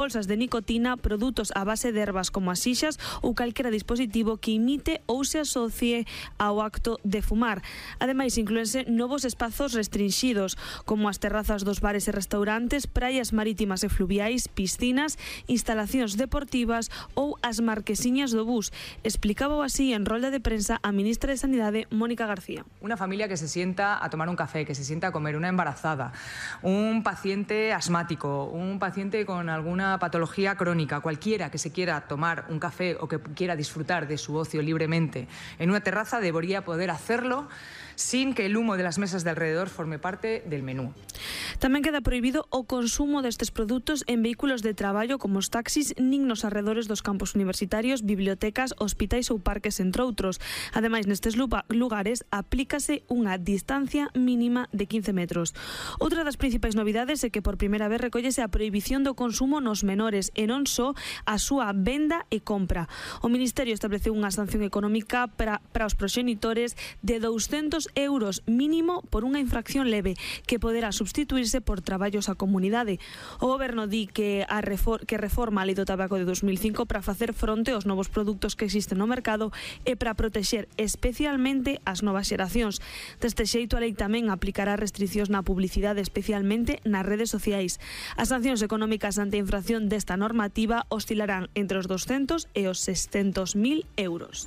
bolsas de nicotina, produtos a base de ervas como as xixas ou calquera dispositivo que imite ou se asocie ao acto de fumar. Ademais, inclúense novos espazos restringidos, como as terrazas dos bares e restaurantes, praias marítimas e fluviais, piscinas, instalacións deportivas ou as marquesiñas do bus. Explicaba así en rolda de prensa a ministra de Sanidade, Mónica García. Una familia que se sienta a tomar un café, que se sienta a comer, una embarazada, un paciente asmático, un paciente con alguna patología crónica, cualquiera que se quiera tomar un café o que quiera disfrutar de su ocio libremente en una terraza debería poder hacerlo sin que el humo de las mesas de alrededor forme parte del menú. Tamén queda prohibido o consumo destes produtos en vehículos de traballo como os taxis nin nos arredores dos campus universitarios, bibliotecas, hospitais ou parques, entre outros. Ademais, nestes lugares aplícase unha distancia mínima de 15 metros. Outra das principais novidades é que por primeira vez recollese a prohibición do consumo nos menores e non só a súa venda e compra. O Ministerio estableceu unha sanción económica para os proxenitores de 200 euros mínimo por unha infracción leve que poderá substituirse por traballos á comunidade. O Goberno di que reforma a Lei do Tabaco de 2005 para facer fronte aos novos produtos que existen no mercado e para protexer especialmente as novas xeracións. Deste xeito, a lei tamén aplicará restriccións na publicidade, especialmente nas redes sociais. As sancións económicas ante a infracción desta normativa oscilarán entre os 200 e os 600.000 euros.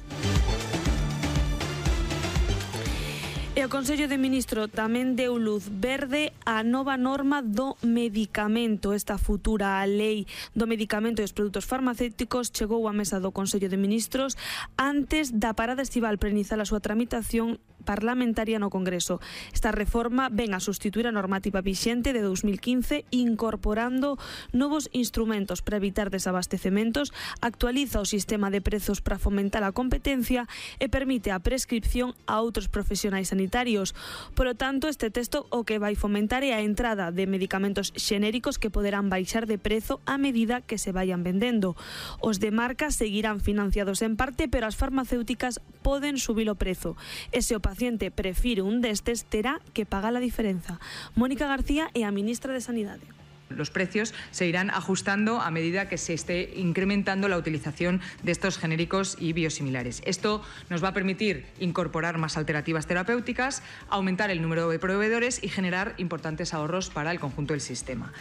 E o Consello de Ministros tamén deu luz verde á nova norma do medicamento. Esta futura lei do medicamento e os produtos farmacéuticos chegou á mesa do Consello de Ministros antes da parada estival para iniciar a súa tramitación parlamentaria no Congreso. Esta reforma ven a sustituir a normativa vixente de 2015 incorporando novos instrumentos para evitar desabastecementos, actualiza o sistema de prezos para fomentar a competencia e permite a prescripción a outros profesionais sanitarios. Por lo tanto, este texto o que vai fomentar é a entrada de medicamentos xenéricos que poderán baixar de prezo a medida que se vayan vendendo. Os de marca seguirán financiados en parte, pero as farmacéuticas poden subir o prezo. E se o paciente prefire un destes, terá que pagar a diferenza. Mónica García é a ministra de Sanidade. Los precios se irán ajustando a medida que se esté incrementando la utilización de estos genéricos y biosimilares. Esto nos va a permitir incorporar más alternativas terapéuticas, aumentar el número de proveedores y generar importantes ahorros para el conjunto del sistema.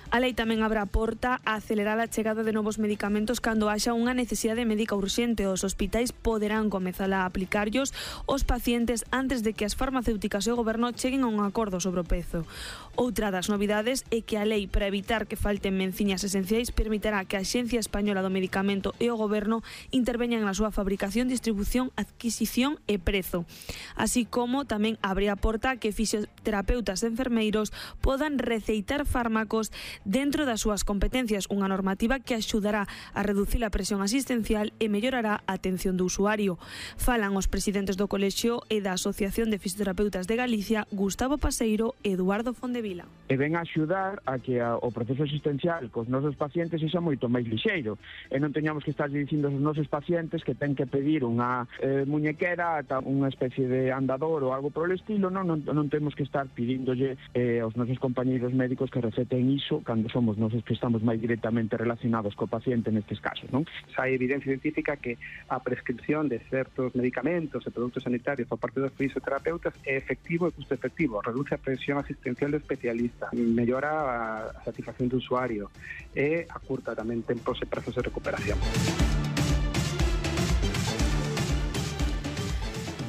A lei tamén abre a porta a acelerar a chegada de novos medicamentos cando haxa unha necesidade médica urxente. Os hospitais poderán comezar a aplicarllos aos pacientes antes de que as farmacéuticas e o Goberno cheguen a un acordo sobre o prezo. Outra das novidades é que a lei, para evitar que falten menciñas esenciais, permitirá que a Axencia Española do Medicamento e o Goberno interveñan na súa fabricación, distribución, adquisición e prezo. Así como tamén abre a porta a que fisioterapeutas e enfermeiros podan receitar fármacos dentro das súas competencias, unha normativa que axudará a reducir a presión asistencial e mellorará a atención do usuario. Falan os presidentes do Colexio e da Asociación de Fisioterapeutas de Galicia, Gustavo Paseiro e Eduardo Fondevila. E ven a axudar a que o proceso asistencial cos nosos pacientes sexa moito máis lixeiro e non teñamos que estar dicindo aos nosos pacientes que ten que pedir unha muñequera, unha especie de andador ou algo por el estilo. Non temos que estar pidíndolle aos nosos compañeiros médicos que receten iso cando somos nosos que estamos máis directamente relacionados co paciente nestes casos, non? Hai evidencia científica que a prescripción de certos medicamentos e produtos sanitarios por parte dos fisioterapeutas é efectivo e custo efectivo, reduce a presión asistencial do especialista, mellora a satisfacción do usuario e acurta tamén tempos e prazos de recuperación.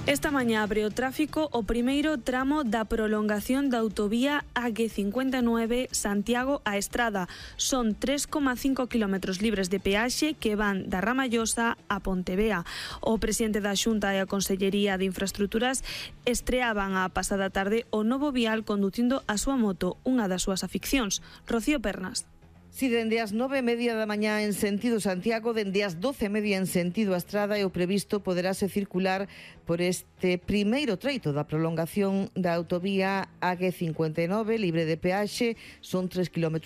Esta mañá abre o tráfico o primeiro tramo da prolongación da autovía AG59 Santiago a Estrada. Son 3,5 km libres de peaxe que van da Ramallosa a Pontevea. O presidente da Xunta e a Consellería de Infraestructuras estreaban a pasada tarde o novo vial conducindo a súa moto, unha das súas aficións. Rocío Pernas. Si dende as 9:30 da mañá en sentido Santiago, dende as 12:30 en sentido a Estrada, e o previsto poderase circular por este primeiro treito da prolongación da autovía AG59 libre de peaxe. Son 3,5 km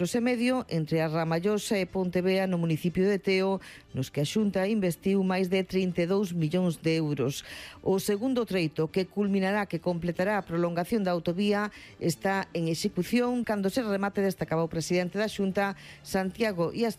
entre a Ramallosa e Pontevea no municipio de Teo, nos que a Xunta investiu máis de 32 millóns de euros. O segundo treito, que culminará, que completará a prolongación da autovía, está en execución. Cando se remate, destacaba o presidente da Xunta, Santiago e as